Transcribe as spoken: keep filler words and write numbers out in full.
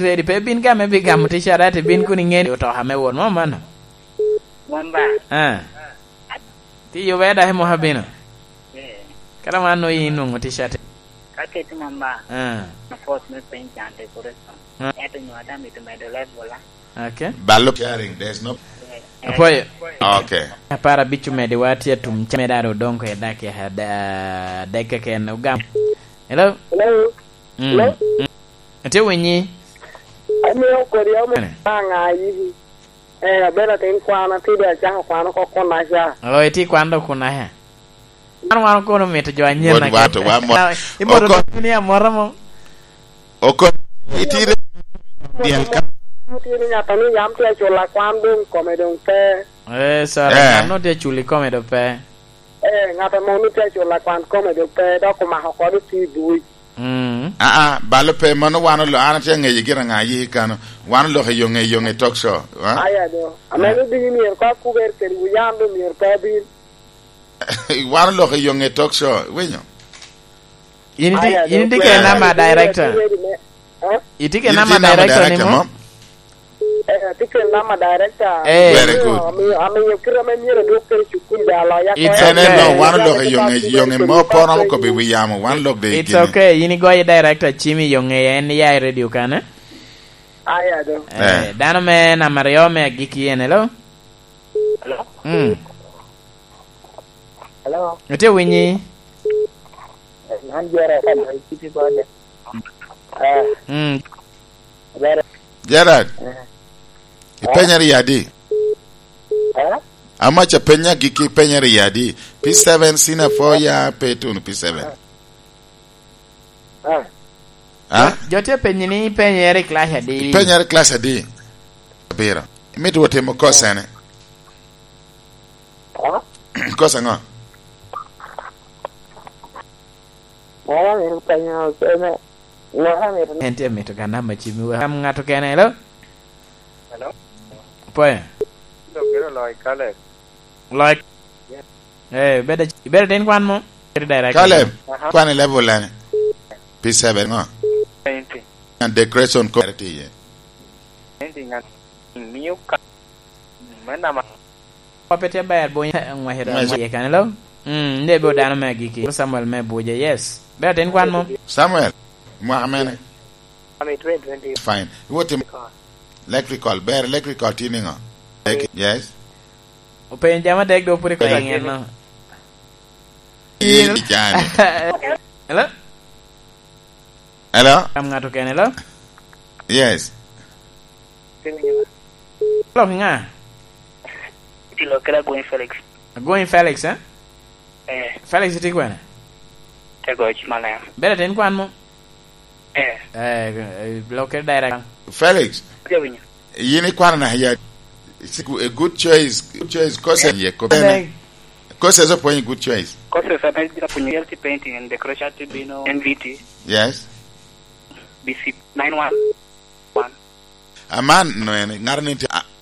ready, pe bin game bi gamo ticca, ate bin kun iŋe ni otoka me wot mo mano. Mom ba? Ah. Ti yube da hemo ha bino. Eh. Kala man no yin nwoŋo ticca te. Ka keti mom ba? Ah. Na force me piny can decoration. Ah. Ento nyo ada mito medo level, ah. Okay. Balo sharing, there's no. Eh, Apoyo. Okay. Apar abic omedi wa tye atum ca me daro odong ko i dakika ada-, adek keken ogam. Hello? Hello? Mm. Hello? Mm. Atye winyi. Amiyo kodi ame Ane. Aŋa yibi. Eh, abedo atin kwan, atye dwe acako kwan oko kunaca. Oh, itye kwan dok kunaca. Man wan kono mito jo anyira. Wod wato, wa mo-, Iboto oko- dok ni amora mo. Oko-, itire dyel ka. Tye ni ŋat a ni yam tye acula kwan doŋ kome doŋ pe. Eh, sorry, Eh. Ŋat no tye aculi kome doŋ pe. Eh, ŋat a mono tye acula kwan kome doŋ pe, dok omako kode tye i buc. Mm. Aa, balo pe, mano wan olo-, an atye aŋeyo gin aŋa aye kano. Wan oloko i yoŋe, i yoŋe talk show, ha? Aya do. Ame ni diki myero ka kuber kede wu yan do myero pe abin. Wan oloko i yoŋe talk show, iwinyo? In iti-, Aya, in itye kede namba director? Itye kede namba director ni mo? Eh, atye kede namba director. Eh. Very good. Amiyo, amiyo kite ame myero adwok kede cukul da aloya. It's okay. En, en, no, wan oloko i yoŋe, yoŋe mo pe oromo kobbi wi yamo, wan olok de i It's gine. Okay. In igoyo director cim i yoŋe, en ya i radio kan, eh? Aya do. Eh, eh. Dano me namba aryo me agikki en, hello? Hello? Mm. Hello? Itye winyi? Man Gerald, ka dong iciti kode. Eh. Mm. Gerald. Gerald. Eh. Ipenyere i adi? Eh? Amaca penya giki ipenyere i adi? P seven, senior four ya pe tuno P seven. Ah. Ah? Jo, jo tye penyi ni ipenyere i class adi? Ipenyere i class adi? Abiro. Imito wot timo course ene? Ah? Course aŋo? Ŋo amito penyo, ene, ŋo amito En tye mito ga namba cim i wek. Am ŋat okene, hello? Hello? Pwe. Dok bino loyo Caleb. Loyo. Yes. Eh, ibedo, ibedo tin kwan mo? Kiri direct. Caleb, aha, kwan i level ene? P seven ŋo? Twenty. And decoration ko tye iye. Twenty ngan miyo ka, me nama. Wa pe tye ber, bonya, ngwece dong ngwece. Ngwece kan, hello? Mm, nde bo dano me agikki. Samuel me Abuja, yes. Ibedo tin kwan mo? Samuel, mwaka mene? Ami twenty twenty. Fine. Iwot tim electrical. Ber, electrical tye niŋo? Yes. Openyo jami adek, dok pwod ikoto angen no. Yin i can. Hello? Hello? Kam ŋat okene, hello? Yes. Lok ŋa? Iti lok kede Agwony Felix. Agwony Felix, eh? Eh. Felix itye kwene? Te goc malem. Bedo atin kwan mo? Eh. Eh, eh, lok kede direct. Felix. Atye winyo. Yin ikwano na ya, it's a good choice, good choice, course ye ko. Direct. Courses opwonyo good choice. Courses ame apwonyo L T painting and decoration, T bino N V T. Yes. B C nine one one. Aman no en, ŋato ni tye, a,